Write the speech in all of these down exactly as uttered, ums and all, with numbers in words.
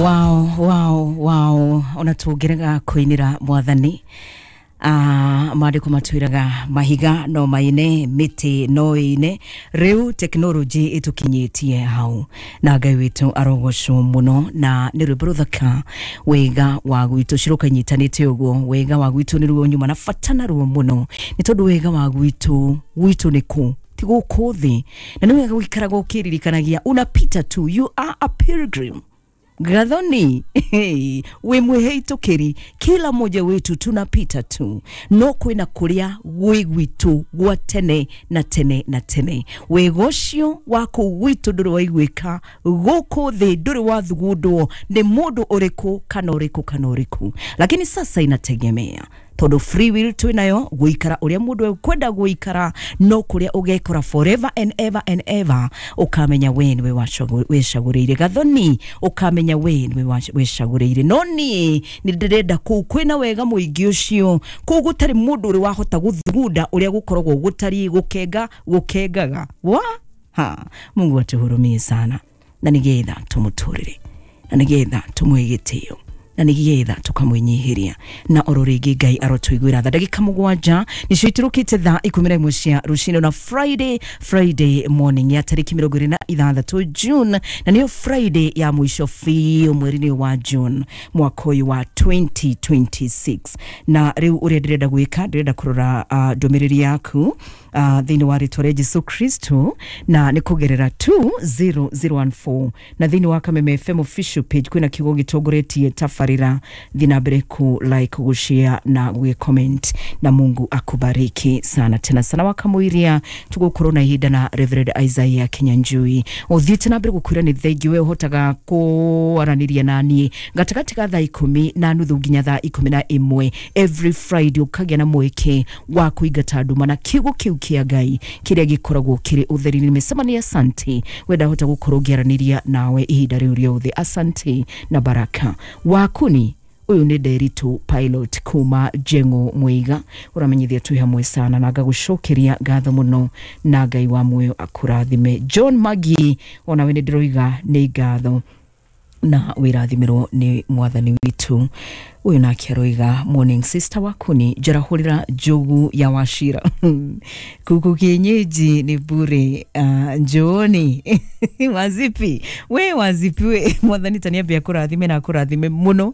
Wow, wow, wow. Ona tũngĩrega kũinĩra mwathani, ah, maandĩko matwĩraga mahiga no maine, mĩtĩ no ĩine. Rĩu tekinoronjĩ ĩtũkinyĩtie hau, na Ngai witũ arogocwo mũno. Na nĩ rwĩmbo rũthaka, "Wega wa Gwitũ". Ciroka inyitanĩte ũguo. Wega wa gwitũ nĩ ruo nyuma na bata naruo mũno, nĩ tondũ wega wa gwitũ, gwitũ nĩ kũ ti gũkũ thĩ, na nĩ wega gũikaraga ũkĩririkanagia unapita tu, you are a pilgrim. Gathoni wĩ mwĩhĩtũkĩri, kila mmoja wetu tunapita tu, no kwĩna kũrĩa gwĩ gwitũ gwa tene na tene na tene. Wega ũcio wa kũu gwitũ ndũrĩ waiguĩka gũkũ thĩ, ndũrĩ wathugundwo nĩ mũndũ ũrĩkũ kana ũrĩkũ kana ũrĩkũ. Lakini sasa inategemea, tondũ free will twĩ nayo gũikara ũrĩa mũndũ ekwenda gũikara, no kũrĩa ũgekora forever and ever and ever, ũkamenya we nĩwe wĩcagũrĩire. Gathoni, ũkamenya we nĩwe wĩcagũrĩire. No niĩ nĩ ndĩrenda kũu kwĩna wega mũingĩ ũcio, kũu gũtarĩ mũndũ ũrĩ wahota gũthugunda ũrĩa gũkoragwo gũtariĩ, gũkenga gũkengaga wa ha. Mungu atuhurumie sana, na nĩgetha tũmũtũrĩre, na nĩgetha tũmũhe gĩtĩo, na nĩgetha tũkamwĩnyihĩria, na oro rĩngĩ Ngai arotũiguĩra tha. Ndagĩka mũgwanja nĩcio iturũkĩte thaa ikũmi na ĩmwe cia rũcinĩ, na Friday, Friday morning ya tarĩki mĩrongo ĩrĩ na ithathatũ June, na nĩyo Friday ya mũico biũ mweri-inĩ wa June mwaka ũyũ wa twenty twenty-six. Na rĩu ũrĩa ndĩrenda gwĩka, ndĩrenda kũrora uh, ndũmĩrĩri yaku uh, thĩinĩ wa rĩtwa rĩa Jesu Kristo, na nĩ kũgerera two zero zero one four, na thĩinĩ wa Kameme F M official page kwĩna kiugo gĩtongoretie tabarĩra. Thiĩ na mbere ku like, gushare na gwĩ comment, na Mungu akubariki sana tena sana. Wakamũiria tũgũkorwo na ihinda na Reverend Isaiah Kinyanjui. Ũthiĩte na mbere gũkwĩra nĩ thengi we ũhotaga kũaranĩria na niĩ gatagatĩ ga thaa ikũmi na nuthu nginya thaa ikũmi na ĩmwe every Friday, ũkagĩa na mweke wa kũingata nduma na kiugo kĩu kĩa Ngai kĩrĩa gĩkoragwo kĩrĩ ũtheri-inĩ. Mĩcemanio, asante wenda hota gũkorwo ngĩaranĩria nawe ihinda rĩu rĩothe. Asante na baraka wakuni. Ũyũ nĩ Nderitu Pilot kuma Jengo Mwiga, ũramenyithia twĩ hamwe sana, na ngagũcokeria ngatho mũno, na Ngai wa muoyo akũrathime. John Magi, onawe nĩ ndĩroiga nĩ ngatho na wĩrathimĩrwo nĩ mwathani witũ. Ũyũ nake aroiga, "Morning, sister wakuni, njarahũrĩra njogu ya Wachira, kuku kienyeji ni bure, uh, njooni wazipi we wazipi we." Mwathani taniambia kũrathime na akũrathime mũno,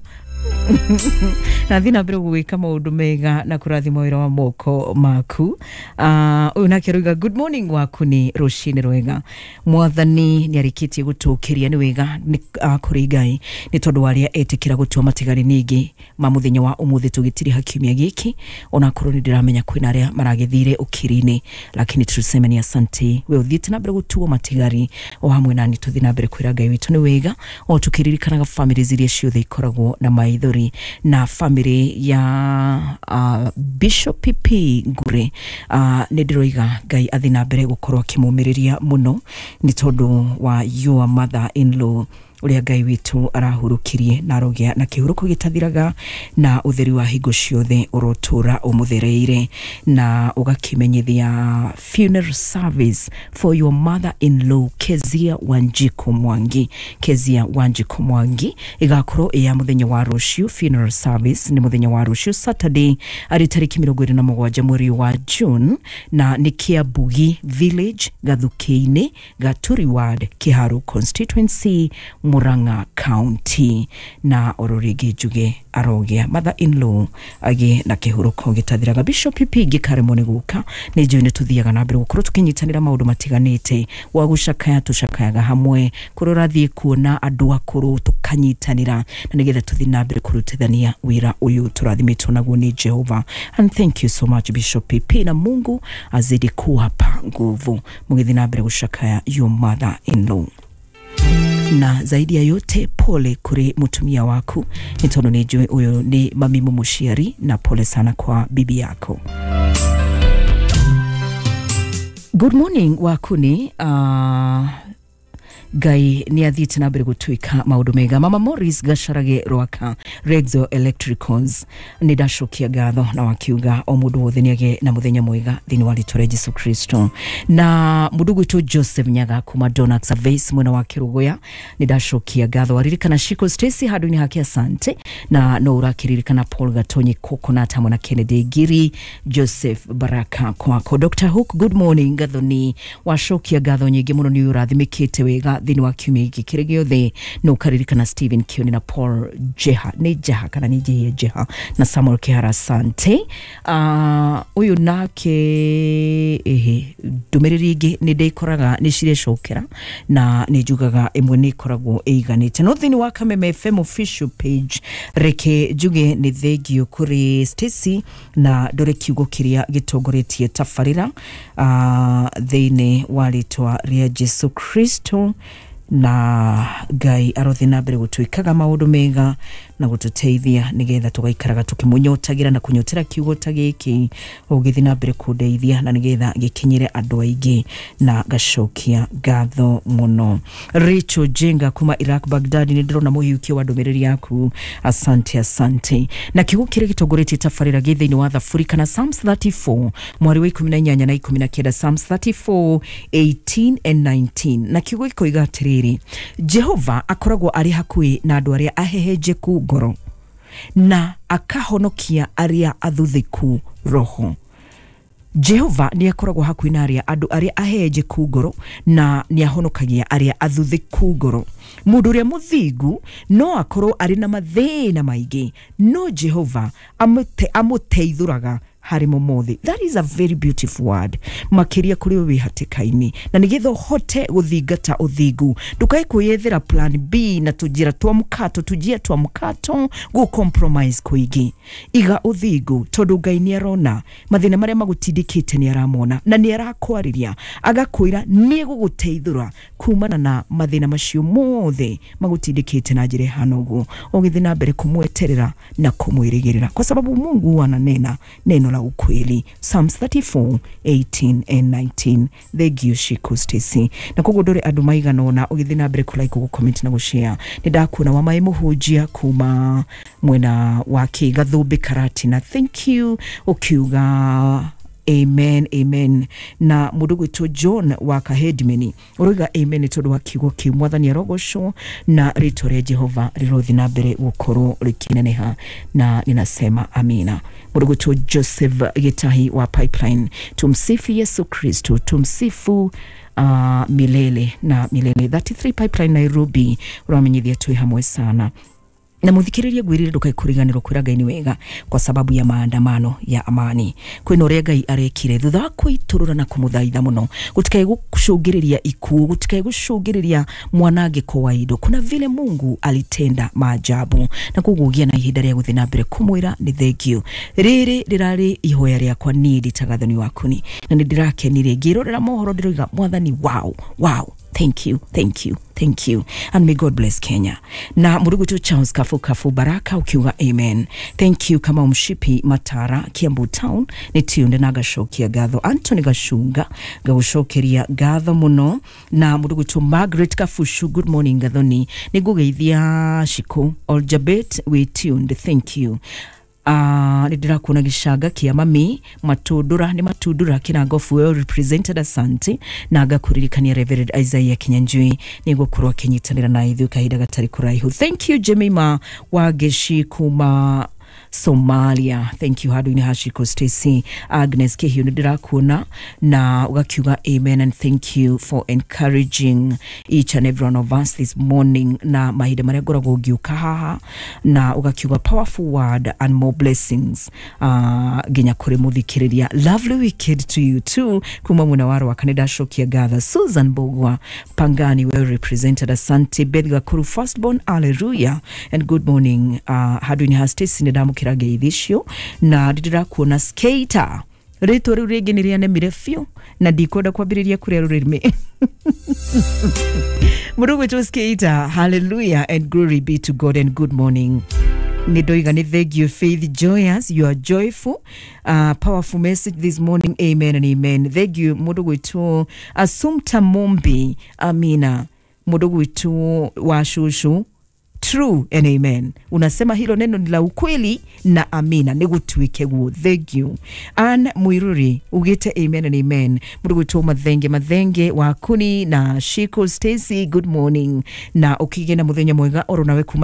na thiĩ na mbere gwĩka maũndũ mega na kũrathima wĩra wa moko maku. Ah, ũyũ nake aroiga, "Good morning wakuni, rũcinĩ rwega. Mwathani nĩ arĩkĩtie gũtũkĩria, nĩ wega nĩ uh, kũrĩ Ngai nĩ tondũ wa arĩa etĩkĩra gũtua matigari ningĩ ma mũthenya wa ũmũthĩ tũgĩtiriha kiumia gĩkĩ, onakorwo nĩ ndĩramenya kwĩna arĩa maragĩthire ũkiri-inĩ, lakini tuseme ni asante. We ũthiĩte na mbere gũtuo matigari o hamwe nani, tũthiĩ na mbere kwĩra Ngai witũ nĩ wega, o tũkĩririkanaga famĩlĩ iria ciothe ikoragwo na maithori, na famĩlĩ ya uh, Bishop P P Ngure. uh, nĩ ndĩroiga Ngai athiĩ na mbere gũkorwo akĩmũmĩrĩria mũno nĩ tondũ wa your mother in law ũrĩa Ngai witũ arahurũkirie, na arogĩa na kĩhurũko gĩtathiraga, na ũtheri wa hingo ciothe ũrotũra ũmũthereire. Na ũgakĩmenyithia funeral service for your mother in law Kezia Wanjiko Mwangi, Kezia Wanjiko Mwangi, ĩgakorwo ĩ ya mũthenya wa rũciũ. Funeral service nĩ mũthenya wa rũciũ, Saturday, arĩ tarĩki mĩrongo ĩrĩ na mũgwanja mweri wa June, na nĩ Kiambugi Village, Gathukĩ-inĩ, Gaturi Ward, Kiharu Constituency, Murang'a County. Na oro rĩngĩ njuge arogĩa mother in law agĩe na kĩhurũko gĩtathiraga. Bishop P P ngĩkaremwo nĩ gũka, nĩ njũĩ nĩ tũthiaga na mbere gũkorwo tũkĩnyitanĩra maũndũ matiganĩte wa gũcakaya, tũcakayaga hamwe, kũrĩa ũrathiĩ kuona andũ akũrũ tũkanyitanĩra, na nĩgetha tũthiĩ na mbere kũrutithania wĩra ũyũ tũrathimĩtwo naguo nĩ Jehova. And thank you so much, Bishop P P, na Mungu azidi kuwapa nguvu mũgĩthiĩ na mbere gũcakaya your mother in law. Na zaidi ya yote, pole kũrĩ mũtumia waku, nĩ tondũ nĩ njũĩ ũyũ nĩ mami mũmũciari, na pole sana kwa bibi yako. Good morning wakuni, uh, Ngai nĩ athiĩte na mbere gũtuĩka maũndũ mega. Mama Morris Gacarage Rwaka Rexo Electricals, nĩ ndacokia ngatho na wakiuga o mũndũ wothe nĩ agĩe na mũthenya mwega thĩinĩ wa rĩtwa rĩa Jesu Kristo. Na mũndũ gwitũ Joseph Nyaga kuma Donax Surveys mwena wa Kĩrũgũya, nĩ ndacokia ngatho. Waririkana Shiko Stacy handũ-inĩ hake, asante. Na no ũrakĩririkana Paul Gatonyi Coconut hamwe na Kennedy Ngiri Joseph Baraka kwako. Doctor Hook, good morning. Gathoni, wacokia ngatho nyingĩ mũno, nĩ ũrathimĩkĩte wega thĩinĩ wa kiumia gĩkĩ kĩrĩ gĩothe. No ũkaririkana Stephen Kioni na Paul Jeha, nĩ Jeha kana nĩ Jehia Jeha, na Samuel Kihara, asante. uh, ũyũ nake ĩhĩ ndũmĩrĩri ĩngĩ nĩ ndĩkoraga nĩ cirecokera na nĩ njugaga ĩmwe nĩ ĩkoragwo ĩiganĩte. No thĩinĩ wa Kameme F M official page, reke njuge nĩ thengio kũrĩ Stacy na ndore kiugo kĩrĩa gĩtongoretie tabarĩra uh, thĩinĩ wa rĩtwa rĩa Jesu Kristo. Na Ngai arothi na mbere gũtwĩkaga maũndũ mega na gũtũteithia nĩgetha tũgaikaraga tũkĩmũnyotagira na kũnyotera kiugo ta gĩkĩ ũgĩthiĩ na mbere kũndeithia na nĩgetha gĩkinyĩre andũ aingĩ, na ngacokia ngatho mũno. Rachel Jenga kuma Iraq Baghdad, nĩ ndĩrona mũhiũkio wa ndũmĩrĩri yaku, asante, asante. Na kiugo kĩrĩa gĩtongoretie tabarĩra gĩ thĩinĩ wa Thaburi kana Psalms thirty-four mwari wa ikũmi na inyanya na ikũmi na kenda, Psalms thirty-four eighteen and nineteen, na kiugo gĩkoiga atĩrĩrĩ, Jehova akoragwo arĩ hakuhĩ na andũ arĩa ahehenjeku ngoro na akahonokia arĩa athuthĩku roho. Jehova nĩ akoragwo hakuhĩ na arĩa andũ arĩa ahehenjeku ngoro na nĩ ahonokagia arĩa athuthĩku ngoro. Mũndũ ũrĩa mũthingu no akorwo arĩ na mathĩna maingĩ, no Jehova amũte, amũteithũraga harĩ mo mothe. That is a very beautiful word, makĩria kũrĩ wĩ hatĩka-inĩ, na nĩgetha ũhote gũthingata ũthingu, ndũkae kwĩyethera plan B na tũnjĩra twa mũkato, tũnjia twa mũkato gũ compromise kũingĩ. Iga ũthingu, tondũ Ngai nĩ arona mathĩna marĩa magũtindĩkĩte, nĩ aramona na nĩ arakwarĩria agakwĩra nĩ egũgũteithũra kumana na mathĩna macio mothe magũtindĩkĩte na njĩra ĩhana ũguo, ũgĩthiĩ na mbere kũmweterera na kũmwĩrĩgĩrĩra, kwa sababu Mungu huwa ananena neno la ukweli. Psalms thirty-four eighteen and nineteen. Thank you, Shiko Stacy. Na koguo ndore andũ maigana ũna ũgĩthiĩ na mbere kũlike, gũcomment na gũshare. Nĩ ndakuona wa maĩ mũhunjia kuma mwena wa Kĩgathũmbĩ Karatina, thank you, ũkiuga amen, amen. Na mũndũ gwĩtwo John wa Kahedimeni ũroiga amen nĩ tondũ wa kiugo kĩu. Mwathani arogocwo na rĩtwa rĩa Jehova rĩrothi na mbere gũkorwo rĩkĩneneha, na ninasema amina. Mũndũ gwĩtwo Joseph Gĩtahi wa Pipeline, tumsifu Yesu Kristo, tumsifu uh, milele na milele. thirty-three Pipeline Nairobi ũramenyithia twĩ hamwe sana. Na muthikiririe, ngwirire ndukae kuriganirwo kwira Ngai ni wega kwa sababu ya maandamano ya amani. Kwina uria Ngai arekire thutha wa kwiturura na kumuthaitha muno, gutikae gucungiriria ikuũ, gutikae gucungiriria mwanangiko wa indo. Kuna vile Mungu alitenda maajabu, na koguo gia na ihinda ria guthii na mbere kumwira ni thank you. Riri rirari ihoya riakwa niĩ nditagathoni wakuni, na nĩ ndĩrakenire ngĩrorera mohoro, ndĩroiga Mwathani, wow, wow, thank you, thank you, thank you, and may God bless Kenya. Na murugu Charles Kafu Kafu Baraka ukiuga amen, thank you. Kama Mshipi Matara Kiambu Town nĩ tiunde na gacokia gatho. Anthony Gacunga, ngagũcokeria ngatho mũno. Na mũndũ gwĩtwo Margaret Kafushu, good morning Gathoni, nĩ ngũgeithia Shiko Oljabet, we tuned, thank you. Uh, nĩ ndĩrakuona gĩcanga kĩa mami matundura, nĩ matundura kĩrangobu, well represented, asante. Na ngakũririkania Reverend Isaiah Kinyanjui nĩ gũkorwo akĩnyitanĩra na ithuĩ kahinda gatarĩ kũraihu. Thank you. Jemima Wageshi kuma Somalia, thank you. Handũ-inĩ ha Shiko Stacy, Agnes Kĩhiũ, nĩ ndĩrakuona na ũgakiuga amen and thank you for encouraging each and every one of us this morning na mahinda marĩa ngoragwo ngĩũka haha, na ũgakiuga powerful word and more blessings uh, nginya kũrĩ mũthikĩrĩria. Lovely weekend to you too. Kuma mwena wa Rwaka nĩ ndacokia ngatho. Susan Bogwa Pangani, well represented, asante. Beth Gakuru firstborn, hallelujah and good morning. uh, handũ-inĩ ha Stacy nĩ ndamũkĩra ngeithi icio, na ndĩrakuona skater, rĩtwa rĩu rĩngĩ nĩ rĩanemire biũ na ndikwenda kwambĩrĩria kũrĩa rũrĩmĩ. Mũndũ gwĩtwo skater, hallelujah and glory be to God and good morning. Nĩ ndoiga nĩ thank you. Faith Joyous, you are joyful, uh, powerful message this morning, amen and amen, thank you. Mũndũ gwĩtwo Assumpta Mombi, amina. Mundu gwitu wa cucu, true and amen. Unasema hilo neno ni la ukweli na amina, nĩgũtuĩke guo. Thank you. Ann Mwiruri ugĩte amen and amen. Mũndũ gwĩtwo Mathenge Mathenge wa Kuni na Shiko Stacy, good morning na ũkĩgĩe na mũthenya mwega oro nawe kuma.